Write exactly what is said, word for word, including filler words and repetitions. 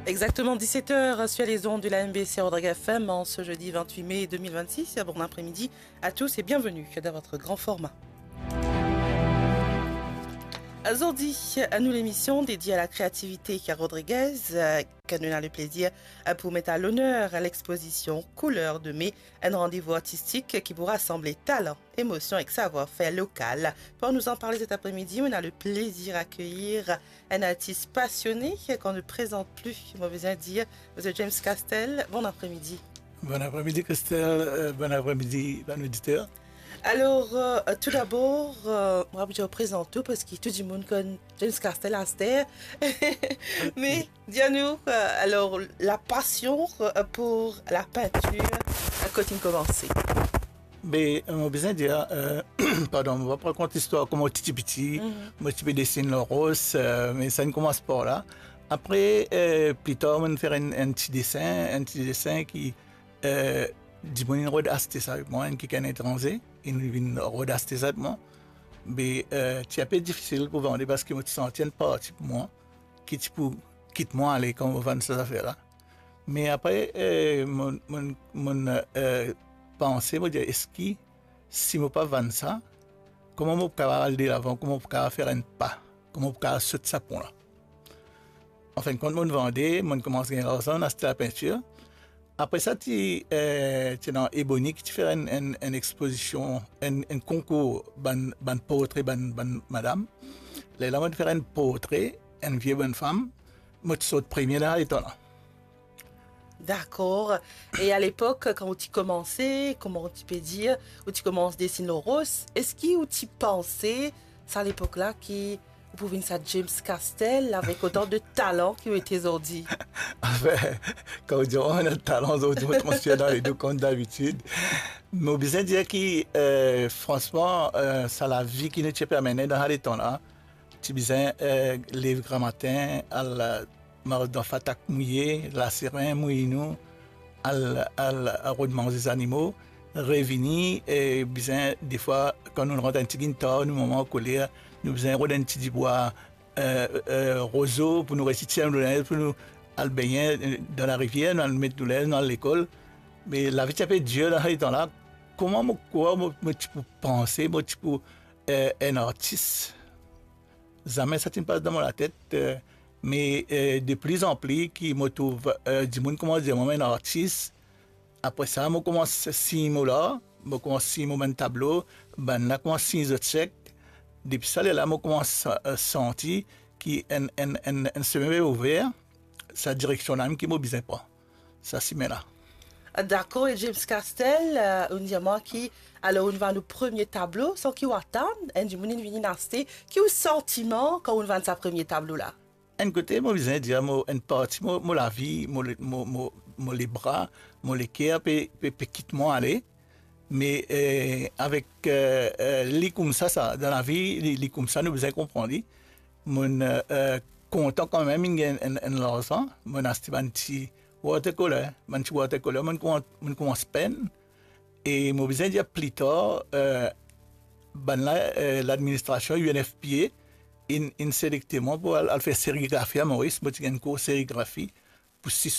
Exactement dix-sept heures sur les ondes de la M B C Rodrigues F M en ce jeudi vingt-huit mai deux mille vingt-six. Bon après-midi à tous et bienvenue dans votre grand format. Zordi, nou lemision dedie a lakreativite Rodriguez, euh, ki nou ena leplezir, euh, pou met a loner lexpozision Couleurs de mai, enn randevou artistik ki pou rasanble talan, emosion ek savwar-fer lokal. Pou nou anparle set apremidi, nou ena leplezir akeyir enn artis pasione, ki nou prezant pli, mo bizin dir, Misie James Castel. Bon apremidi. Bon apremidi, Christelle. Euh, bon apremidi, bann oditer. Alor, euh, toudabor, euh, mo pou dir prezant ou, parski tou dimoun konn James Castel aster. Me dir nou, euh, alor, lapasion, euh, pou lapintir, euh, kot inn koumanse? Be, euh, mo bizin dir, euh, pardon, mo pa pou rakont listwar kouma mo ti, ti piti, mo ti pe desin lor ros, euh, me sa inn koumans par la. Apre, euh, pli tar, mo'nn fer enn, enn ti desin, enn ti desin ki, euh, dimoun inn rod aste sa avek mwa, enn kikenn etranze, inn vinn rod aste sa avek mwa. Be, euh, ti inpe difisil pou vande parski mo ti santi enn parti pou mwa ki ti pou kit mwa ale kan mo vann sa zafer la. Me apre, eh, mo'nn, mo'nn, mo'nn, eh, panse, mo dir, eski si mo pa vann sa, kouma mo pou kapav al delavan, kouma mo pou kapav fer enn pa, kouma mo pou kapav sot sa pon la? Anfinn kont, mo'nn vande, mo'nn koumans gagn larzan, mo'nn aste lapintir. Apre sa, ti, eh, ti ena Ebony ki ti fer enn, enn, enn expozision, enn, enn konkour bann, bann portre bann, bann madam. Lerla mo'nn fer enn portre enn vie bonnfam, mo ti sort premie dan sa letan la. Dakor. E alepok, kan ou ti koumanse, kouma ou ti pe dir, ou ti koumans desin lor ros, eski ou ti panse sa lepok la ki ou pou vinn sa James Castel avek otan de talan ki ou ete zordi? Anfin, kan ou dir, oh, mo ena talan zordi, mo transfer dan ledo kouma dabitid. Me mo bizin dir ki, eh, fransman, eh, sa lavi ki nou ti pe mennen dan sa letan la, ti bizin, eh, lev gramatin, al, eh, mars dan fatak mouye, laseren mouy nou, al, al, al rod manze zanimo, revini, e bizin, defwa, kan nou rant enn tigit tar, nou mama ankoler, nou bizin rod enn ti dibwa, eh, eh, rozo pou nou resi tir nou linz, pou nou al begne, eh, dan larivier, nou al met nou linz, nou al lekol. Me lavi ti inpe dir dan sa letan la. Kouma mo krwar mo, mo ti pou panse, mo ti pou, eh, enn artis? Zame sa ti'nn pas dan mo latet, eh, me, eh, de pli an pli ki mo trouv, eh, dimoun koumans dir mwa mo enn artis. Apre sa, mo koumans sign mo lar, mo koumans sign mo bann tablo, bannla koumans sign zot sek. Depi sa lerla, mo koumans, eh, santi ki enn, enn, enn, enn semin pe ouver, sa direksion la mem ki mo bizin pran, sa simin la. Dakor, e James Castel, eh, ou'nn dir mwa ki, alor, ou'nn vann ou premie tablo, san ki ou atann enn dimoun inn vini aste, ki ou santiman kan ou'nn vann sa premie tablo la? Enn kote, mo bizin dir, mo, enn parti mo, mo lavi, mo le-, mo, mo, mo lebra, mo leker pe, pe, pe kit mwa ale. Me, eh, avek, eh, eh, li koumsa sa, dan lavi, li, li koumsa, nou bizin konpran li. Mo'nn, eh, eh, kontan kanmem, inn gagn enn, enn larzan, mo'nn aste bann ti watercolor, bann ti watercolor, mo'nn koumans, mo'nn koumans penn. E mo bizin dir pli tar, eh, bannla, eh, ladministrasion U N F P A inn, inn selekte mwa pou al, al fer serigrafi a Moris. Mo ti gagn kour serigrafi pou sis